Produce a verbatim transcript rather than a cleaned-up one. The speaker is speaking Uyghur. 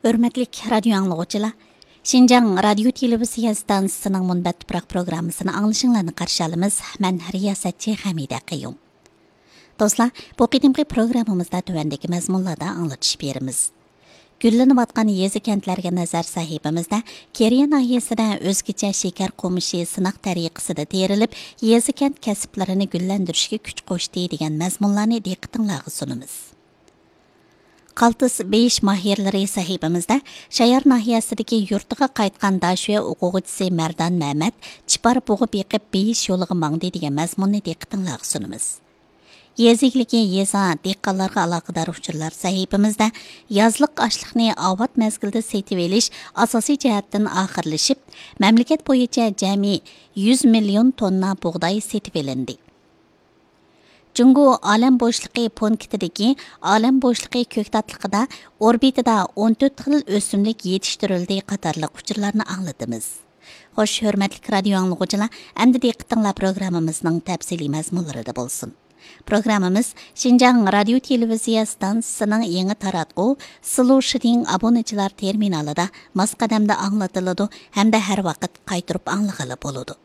ھۆرمەتلىك رادىيو ئاڭلىغۇچىلار، شىنجاڭ رادىيو تېلېۋىزىيە ئىستانسىسىنىڭ مۇنبەت تۇپراق پروگراممىسىنى ئاڭلىشىڭلارنى قارشى ئالىمىز. مەن رىياسەتچى ھەمىدە قەييۇم. دوستلار، بۇ قېتىمقى پروگراممىمىزدا تۆۋەندىكى مەزمۇنلاردا ئاڭلىتىش بېرىمىز. گۈللىنىۋاتقان يېزا كەنتلەرگە نەزەر سەھىپىمىزدە كېرىيە ناھىيەسىدە ئۆزگىچە شېكەر قومۇشى سىناق تەرىقىسىدە تېرىلىپ، يېزا كەنت كەسىپلىرىنى گۈللەندۈرۈشكە كۈچ قوشتى دېگەن مەزمۇنلارنى دىققىتىڭلارغا سۇنىمىز. قالتىس بېيىش ماھىرلىرى سەھىپىمىزدە شايار ناھىيەسىدىكى يۇرتىغا قايتقان داشۆ ئوقۇغۇچىسى مەردان مەمەت چىپار بۇغا بېقىپ بېيىش يولىغا ماڭدى دېگەن مەزمۇننى دىققىتىڭلارغا سۇنىمىز. يېزا ئىگىلىكى، يېزا، دېھقانلارغا ئالاقىدار ئۇچۇرلار سەھىپىمىزدە يازلىق ئاشلىقنى ئاۋات مەزگىلدە سېتىۋېلىش ئاساسىي جەھەتتىن ئاخىرلىشىپ، مەملىكەت بويىچە جەمئىي يۈز مىليون توننا بۇغداي سېتىۋېلىندى. جۇڭگو ئالەم بوشلۇقى پونكىتىدىكى ئالەم بوشلۇقى كۆكتاتلىقىدا ئوربىتىدا ئون تۆت خىل ئۆسۈملۈك يېتىشتۈرۈلدى قاتارلىق ئۇچۇرلارنى ئاڭلىتىمىز. خوش، ھۆرمەتلىك رادىيو ئاڭلىغۇچىلار، ئەمدى دىققىتىڭلار پروگراممىمىزنىڭ تەپسىلىي مەزمۇنلىرىدا بولسۇن. پروگراممىمىز شىنجاڭ رادىيو تېلېۋىزىيە ئىستانسىسىنىڭ يېڭى تاراتقۇ سىلۇ شىدىڭ ئابۇنىچىلار تېرمىنالىدا ماس قەدەمدە ئاڭلىتىلىدۇ ھەمدە ھەر ۋاقىت قايتۇرۇپ ئاڭلىغىلى بولىدۇ.